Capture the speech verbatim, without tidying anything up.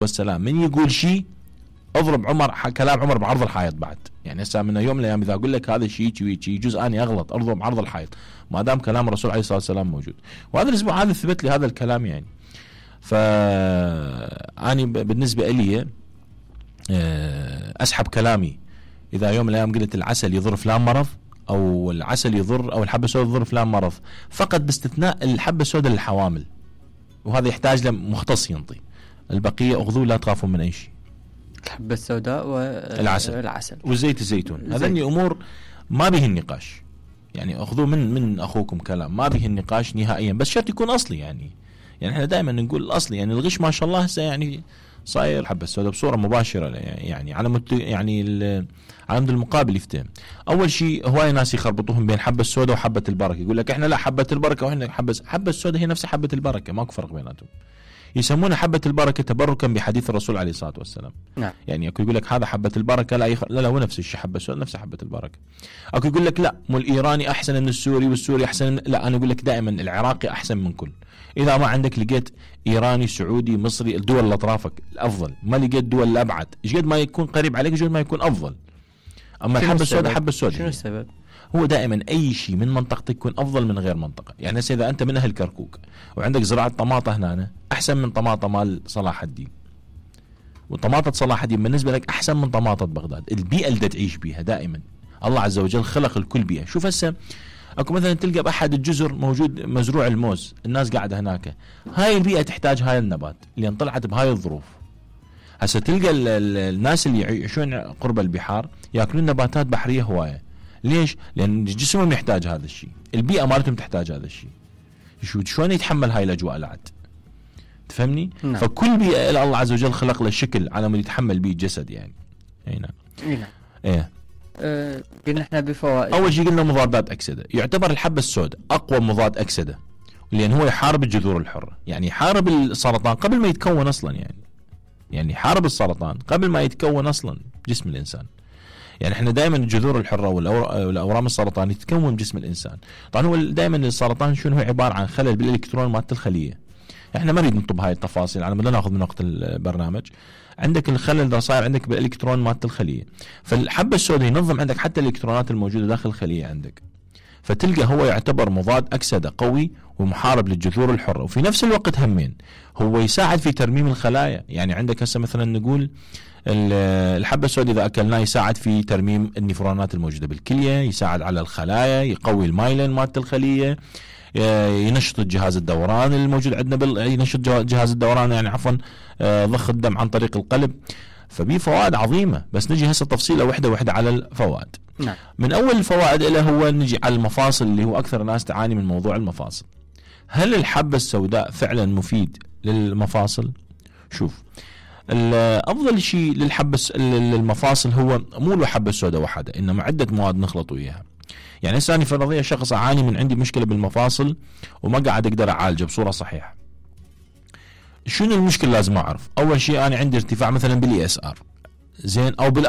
والسلام من يقول شيء اضرب عمر كلام عمر بعرض الحائط بعد. يعني هسه من يوم من الايام اذا اقول لك هذا الشيء يجوز اني اغلط اضرب بعرض الحائط ما دام كلام الرسول عليه الصلاه والسلام موجود. وهذا الاسبوع هذا ثبت لي هذا الكلام. يعني فاني بالنسبه لي اسحب كلامي اذا يوم من الايام قلت العسل يضر فلان مرض او العسل يضر او الحبه السوداء تضر فلان مرض، فقط باستثناء الحبه السوداء للحوامل، وهذا يحتاج لمختص ينطي. البقيه اخذوه لا تخافون من اي شيء. الحبه السوداء والعسل العسل وزيت الزيتون، هذني امور ما به النقاش. يعني اخذوه من من اخوكم كلام ما به النقاش نهائيا، بس شرط يكون اصلي. يعني يعني احنا دائما نقول الاصلي. يعني الغش ما شاء الله هسه يعني صاير حبه السوداء بصوره مباشره. يعني على مت يعني على مد المقابل يفتهم. اول شيء هواي ناس يخربطوهم بين حبه السوداء وحبه البركه، يقول لك احنا لا حبه البركه واحنا حبه حبه السوداء هي نفس حبه البركه، ماكو فرق بيناتهم. يسمونها حبه البركه تبركا بحديث الرسول عليه الصلاه والسلام. نعم. يعني اكو يقول لك هذا حبه البركه لا يخ... لا لا هو نفس الشيء حبه السوداء نفس حبه البركه. اكو يقول لك لا مو الايراني احسن من السوري والسوري احسن من... لا انا اقول لك دائما العراقي احسن من كل. اذا ما عندك لقيت ايراني سعودي مصري الدول اللي اطرافك الافضل، ما لقيت دول الابعد، ايش قد ما يكون قريب عليك ايش قد ما يكون افضل. اما الحبه السوداء حبه السوداء شنو السبب؟ هو دائما اي شيء من منطقتك يكون افضل من غير منطقه. يعني هسه اذا انت من اهل كركوك وعندك زراعه طماطه هنا احسن من طماطه مال صلاح الدين، وطماطه صلاح الدين بالنسبه لك احسن من طماطه بغداد. البيئه اللي تعيش بيها دائما الله عز وجل خلق الكل بيئه. شوف هسه اكو مثلا تلقى باحد الجزر موجود مزروع الموز، الناس قاعده هناك، هاي البيئه تحتاج هاي النبات اللي طلعت بهاي الظروف. هسه تلقى ال ال الناس اللي يعيشون قرب البحار ياكلون نباتات بحريه هوايه. ليش؟ لان جسمهم يحتاج هذا الشيء، البيئه مالتهم تحتاج هذا الشيء. شو شلون يتحمل هاي الاجواء العد؟ تفهمني؟ نعم. فكل بيئه الله عز وجل خلق له شكل على ما يتحمل به الجسد. يعني اي نعم. اي نعم. ايه أه قلنا احنا بفوائد. اول شيء قلنا مضادات اكسده. يعتبر الحبه السوداء اقوى مضاد اكسده لان هو يحارب الجذور الحره. يعني يحارب السرطان قبل ما يتكون اصلا. يعني يعني يحارب السرطان قبل ما يتكون اصلا جسم الانسان. يعني احنا دائما الجذور الحره والاورام السرطانيه تتكون بجسم الانسان. طبعا هو دائما السرطان شنو هو عباره عن خلل بالالكترون مالت الخليه. احنا ما نريد نطب هاي التفاصيل على ما ناخذ من وقت البرنامج. عندك الخلل ده صاير عندك بالالكترون مالت الخليه، فالحبه السوداء ينظم عندك حتى الالكترونات الموجوده داخل الخليه عندك. فتلقى هو يعتبر مضاد اكسده قوي ومحارب للجذور الحره، وفي نفس الوقت همين هو يساعد في ترميم الخلايا. يعني عندك هسه مثلا نقول الحبه السوداء اذا اكلناه يساعد في ترميم النفرونات الموجوده بالكليه، يساعد على الخلايا، يقوي المايلين مالت الخليه، ينشط الجهاز الدوران الموجود عندنا بال... ينشط جهاز الدوران يعني عفوا ضخ الدم عن طريق القلب. فبيه فوائد عظيمه. بس نجي هسه تفصيله وحده وحده على الفوائد. نعم. من اول الفوائد له هو نجي على المفاصل اللي هو اكثر ناس تعاني من موضوع المفاصل. هل الحبه السوداء فعلا مفيد للمفاصل؟ شوف افضل شيء للحبه للمفاصل هو مو الحبه السوداء وحده، انما عده مواد نخلط وياها. يعني هسه انا فرضيا شخص اعاني من عندي مشكله بالمفاصل وما قاعد اقدر اعالجه بصوره صحيحه. شنو المشكله لازم اعرف؟ اول شيء انا عندي ارتفاع مثلا بالاي اس ار زين او بال